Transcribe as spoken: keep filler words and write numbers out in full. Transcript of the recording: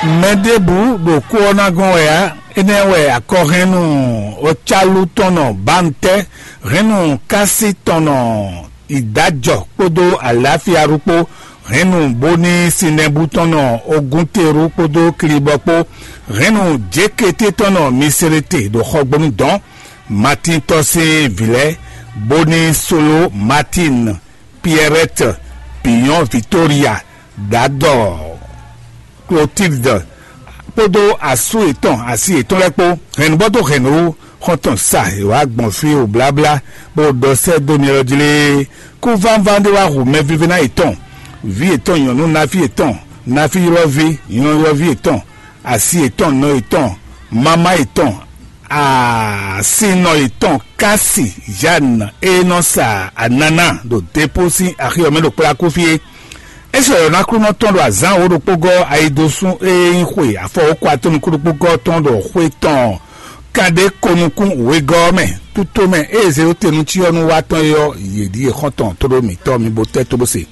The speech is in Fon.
Mɛ ɖěbǔ ɖo kú ɔ́ ná gɔ́n wɛ ǎ. Énɛ́ wɛ akɔhɛ́nnu Ocálu tɔn nɔ Bantɛ́, hɛ́nnu Kási tɔn nɔ Idǎjɔ kpódó Aláfiaɖu kpó, hɛ́nnu Bóní Sinɛbú tɔn nɔ Ogúnterú kpódó Klibɔ kpó, hɛ́nnu Jékété tɔn nɔ Miselete ɖo xɔgbónu dɔn. Matín tɔ́ sín vǐ lɛ́ɛ, Bóní Solo, Matín, Piɛrɛ́t, Biyɔ́n Vitória, Dadɔ, Klotíldɔ kpódó asú yětɔn, asi yětɔn lɛ́ɛ kpó. Hɛ̌nnubɔ́ dó hɛ̌nnu xɔ́ntɔn sa è wǎ gbɔn fí wǒ bláblá, bó ɖɔ sɛ́ dó mi ɔ́ jí lée. Kú vánván ɖé wá hu mɛvívɛ́ná yětɔn, vǐ yětɔn nyɔ̌nu, náfí yětɔn, náfí ylɔ́ví, ylɔ́ylɔ́ví yětɔn, asi yětɔn, nɔ yětɔn, mama yětɔn, asinɔ yětɔn, Kási, Zane e nɔ sa anana ɖo Depo sín axi ɔ́ mɛ ɖo kplákú fí é. É sɔ́ yɔ̌ ná Aklúnɔ tɔn ɖo azǎn wǒ ɖokpó gɔ́ ayidosún e nyí xwe afɔwókɔ atɔ́ nukún ɖokpó gɔ́ tɔn ɖo xwe tɔn kanɖé ko nukún wegɔ́ ɔ́ mɛ. Tútó mɛ ée Zelotenu cyɔ́nú wa tɔn é ɔ́, yě ɖíe xɔ́ntɔn tóɖó mǐtɔn mi bo tɛ́ tó bó se.